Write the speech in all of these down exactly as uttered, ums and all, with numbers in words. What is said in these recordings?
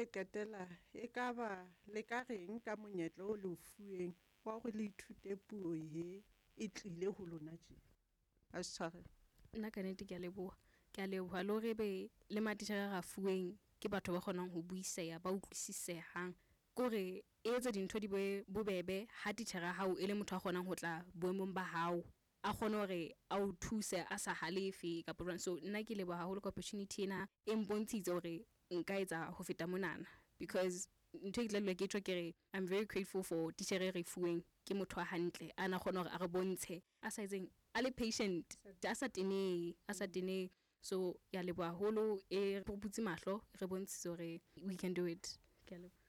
le qetela ekaba le ka reng ka monyetla o le o fuweng wa hore le ithute puo ye e tlile ho lona tje? A se tshwarelo. Nna ka nnete ke a leboha. Ke a leboha le hore ebe le matitjhere a re a fuweng ke batho ba kgonang ho buiseha, ba utlwisisehang. Ke hore e etsa dintho di be bobebe ha titjhere ya hao e le motho a kgonang ho tla boemong ba hao. A kgone hore a o thuse a sa halefe kapa jwang. So nna ke leboha haholo ka opportunity ena e mpontshitse hore nka etsa ho feta monana. Because ntho e ke tla dula ke tjho ke re, I'm very grateful for titjhere e re fuweng. Ke motho a hantle, a na kgona hore a re bontshe, a sa etseng, a le patient, a sa tenehe, a sa tenehe. So ke a leboha haholo, e re butse mahlo, e re bontshitse hore we can do it. Ke a leboha.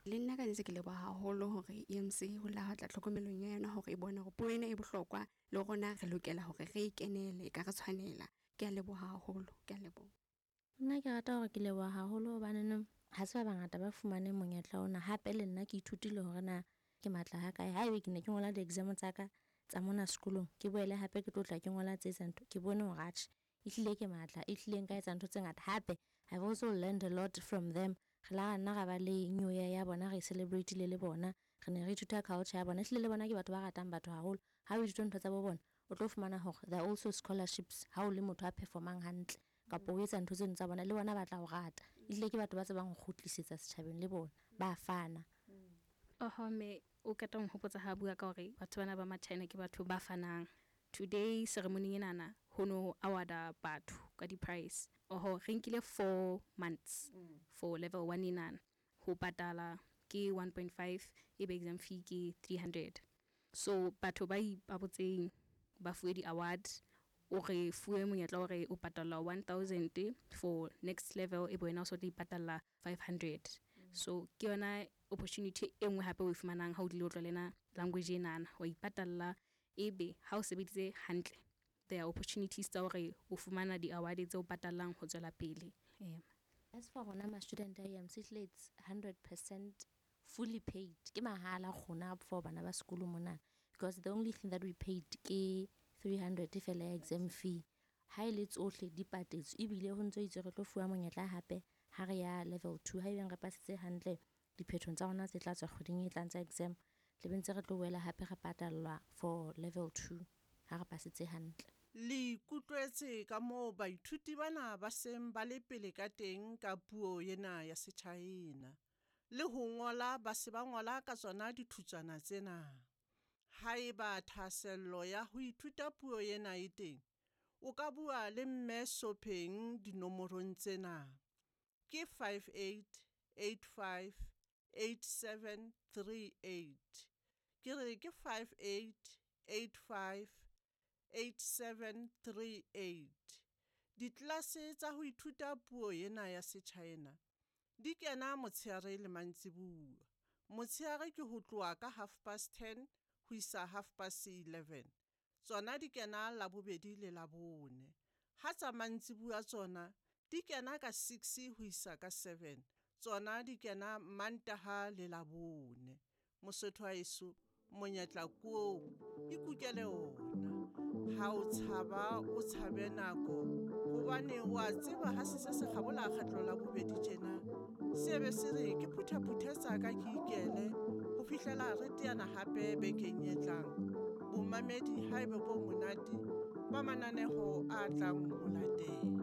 Le nna ka nnete ke leboha haholo hore E M C ho la tla tlhokomelong ya yona hore e bone hore puo ena e bohlokwa le rona re lokela hore re e kenele, e ka re tshwanela. Ke a leboha haholo, ke a leboha. Nna ke rata hore ke leboha haholo hobaneneng ha se ba bangata ba fumaneng monyetla ona. Hape le nna ke ithutile hore na ke matla ha kae. Haebe ke ne ke ngola di-exam tsa ka tsa mona sekolong, ke boele hape ke tlo tla ke ngola tse tsa ntho, ke bone hore atjhe ehlile ke matla, ehlile nka etsa ntho tse ngata. Hape I've also learned a lot from them. Re la nna ra ba le new year ya bona, re celebrate-ile le bona, re ne re ithuta culture ya bona. Ehlile le bona ke batho ba ratang batho haholo. Ha o ithuta ntho tsa bo bona, o tlo fumana hore there are also scholarships ha o le motho a performang hantle kapa o etsa ntho tseno tsa bona, le bona ba tla o rata. Ehlile ke batho ba tsebang ho kgutlisetsa setjhabeng, le bona ba fana. Oho, mme o qeta ho nhopotsa ha bua ka hore batho bana ba ma-China ke batho ba fanang. Today ceremony enana ho no award-a batho ka di-prize. Oho, re nkile four months for level one enana. Ho patala ke one point five, ebe exam fee ke three hundred. So batho ba ipabotseng ba fuwe di-award, o re fuwe monyetla hore o patala one thousand for next level, ebe wena o so tla ipatalla five hundred. So ke yona opportunity e nngwe hape o e fumanang ha o tlile o tlo lena language enana, wa ipatalla ebe ha o sebeditse hantle, there are opportunities tsa hore o fumana di-award tse o patallang ho tswela pele. Ee. As for rona ma-student a E M C, ehlile it's hundred percent fully paid. Ke mahala rona for bana ba sekolo mona, because the only thing that we paid ke three hundred fela ya exam fee. Ha e le tsohle di patetswe, ebile ho ntso itswe re tlo fuwa monyetla hape ha re ya level two. Haebeng re pasitse hantle diphethong tsa rona tse tla tswa kgweding e tlang tsa exam, tlabe ntse re tlo boela hape re patallwa for level two ha re pasitse hantle. Le ikutlwetse ka moo baithuti bana ba seng ba le pele ka teng ka puo ena ya Setjhaena. Le ho ngola ba se ba ngola ka tsona dithutswana tsena. Haeba thahasello ya ho ithuta puo ena e teng, o ka bua le Mme Sopheng dinomorong tsena. Ke five eight eight five eight seven three eight. Ke re ke five eight eight five eight seven three eight. Ditlelase tsa ho ithuta puo ena ya Setjhaena di kena motshehare le mantsibuya. Motshehare ke ho tloha ka half past ten ho isa half past eleven. Tsona di kena Labobedi le Labone. Ha tsa mantsibuya tsona di kena ka six ho isa ka seven. Tsona di kena Mantaha le Labone. Mosotho wa heso, monyetla ke oo, ikukele ona. Ha o tshaba, o tshabe nako hobane wa tseba ha se se se kgabola kgetlo la bobedi tjena. Se be se re ke phuthaphuthe tsa ka ke ikele ho fihlela re teana hape bekeng e tlang. Bomamedi haebe bo monate ba mananeho a tlang ho latela.